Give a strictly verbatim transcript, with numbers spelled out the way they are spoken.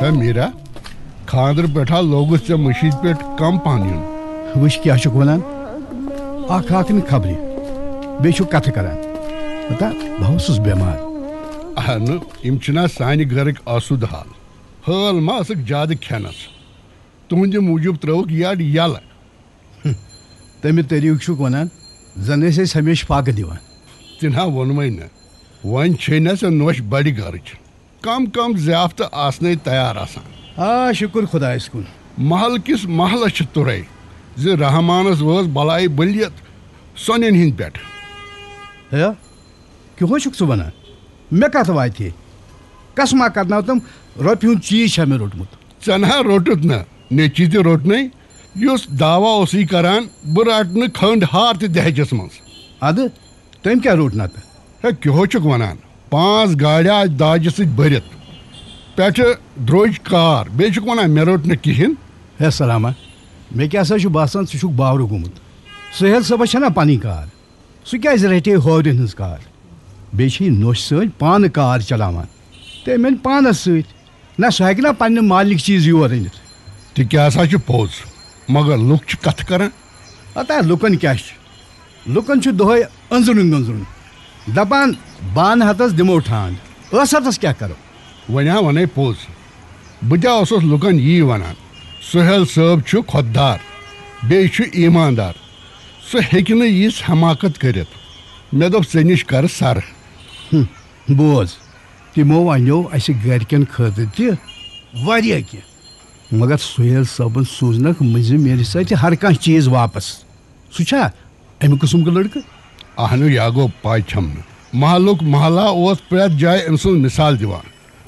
ہے میٖرا، خانٛدرٕ پٮ۪ٹھا لوگُس ژےٚ مٔشیٖد پٮ۪ٹھ کم پہن یُن؟ وٕچھ کیٛاہ چھُکھ ونان، اکھ اکھ نہٕ خبرِ، بیٚیہِ چھُکھ کتھٕ کران۔ پتہ، بہٕ اوسُس بٮ۪مار۔ اہنہٕ، یِم چھِنہ سانہِ گرٕکۍ آسوٗدٕ حال۔ حٲل ما ٲسٕکھ زیادٕ کھٮ۪نس؟ تُہنٛدِ موٗجوٗب ترٲوٕکھ یڈ یلہٕ۔ تمہِ طریٖقہٕ چھُکھ ونان، زن ٲسۍ أسۍ ہمیشہٕ فاقہٕ دِوان۔ تہِ نہ ووٚنمَے نہٕ۔ وۄنۍ چھے نہ ژےٚ نوٚش بڑِ گرٕچ۔ کم کم ضیافتہٕ آسنے تیار آسان۔ آ، شُکُر خۄدایَس کُن۔ محل کِس محلس چھِ تُرے زِ رحمانس وٲژ بلاے بٔلِیت سۄنٮ۪ن ہِنٛدۍ پٮ۪ٹھ۔ ہے، کیٛاہ چھُکھ ژٕ ونان؟ مےٚ کتھ واتہِ ہے؟ کس ما کرناو تِم رۄپیہِ ہُنٛد چیٖز چھا مےٚ روٚٹمُت؟ ژےٚ نہ روٚٹُتھ نہ، نیٚچی تہِ روٚٹنَے، یُس دعویٰ اوسُے کران، بہٕ رٹہٕ نہٕ کھنٛڈ ہار تہِ دہجس منٛز۔ ادٕ تٔمۍ کیٛاہ روٚٹ نتہٕ؟ ہے، کیٛاہ چھُکھ ونان؟ پانٛژھ گاڑِ آسہٕ داجہِ سۭتۍ بٔرِتھ، پٮ۪ٹھٕ درٛوٚج کار، بیٚیہِ چھُکھ ونان مےٚ روٚٹ نہٕ کِہیٖنۍ۔ ہے سلامہ، مےٚ کیٛاہ سا چھُ باسان ژٕ چھُکھ باورٕ گوٚمُت؟ سہیل صٲبس چھےٚ نا پنٕنۍ کار؟ سُہ کیٛازِ رٹہِ ہورٮ۪ن ہٕنٛز کار؟ بیٚیہِ چھِ یہِ نوٚش سۭتۍ پانہٕ کار چلاوان۔ تہٕ أمۍ أنۍ پانس سۭتۍ۔ نہ، سُہ ہیٚکہِ نا پننہِ مالِک چیٖز یور أنِتھ۔ تہِ کیٛاہ سا چھُ پوٚز، مگر لُکھ چھِ کتھٕ کران۔ ہتا لُکن کیٛاہ چھُ؟ لُکن چھُ دۄہے أنٛزرُن گٔنٛزرُن۔ دپان، بانہٕ ہتس دِمو ٹھانٛڈ، ٲس ہتس کیٛاہ کرو؟ وۄنۍ ہا ونے پوٚز، بہٕ تہِ اوسُس لُکن یی ونان، سہیل صٲب چھُ خۄددار، بیٚیہِ چھُ ایٖماندار، سُہ ہیٚکہِ نہٕ یِژھ حماقت کٔرِتھ۔ مےٚ دوٚپ، ژےٚ نِش کرٕ سرٕ۔ بوز، تِمو اَنیو اَسہِ گَرِکٮ۪ن خٲطرٕ تہِ واریاہ کینٛہہ، مگر سُہیل صٲبن سوٗزنکھ مٔنٛزِم میرِ سۭتۍ ہر کانٛہہ چیٖز واپس۔ سُہ چھا اَمہِ قٕسمُک لٔڑکہٕ؟ اہنُو، یا گوٚو پاے چھَم نہٕ۔ محلُک محلہ اوس پرٛٮ۪تھ جایہِ أمۍ سٕنٛز مثال دِوان۔